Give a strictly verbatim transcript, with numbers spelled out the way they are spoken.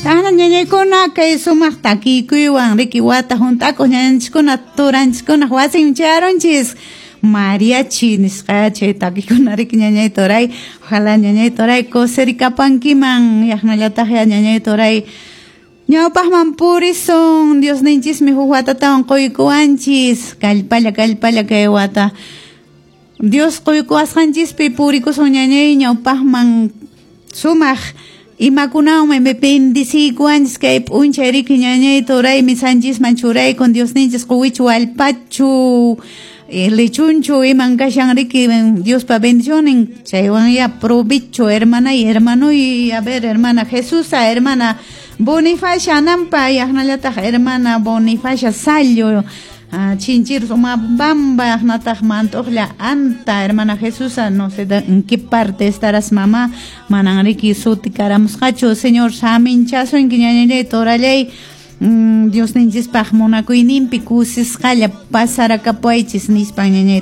Tana ñañaykuna kay sumaq takikuywan riki wata hunt'akuq ñañanchiskuna turanchiskuna wasin chayarunchis mariachi nisqa chay takikuna riki ñañay turay, ojalá ñañay turay kusirikapankiman yaqnallataq ya ñañay turay ñawpaqman purisun Diosninchismi huk watatawan quykuwanchis kallpalla kallpalla kay wata Dios quykuwasqanchispi purikusun ñañay ñawpaqman sumaq imakunawanmi bendiciykuwanchis kay p'unchay riki ñañay turay misanchisman churaykun Diosninchis quwichu allpachu lechunchu iman kashan riki Diospa bendicionin chaywan ya provecho hermanay hermanoy a ver hermana Jesusa hermana Bonifacia Anampa yaqnallataq hermana Bonifacia Sallo Chinchirus Umabamba yaqnataq Mantuqlla Anta hermana Jesusa no sé en qué parte estarás mamá manan riki suti karamusqachu Señor saminchasunki ñañallay torallay Diosninchispaq munakuyninpi kusisqalla pasarakapuwaychis nispan ñañay.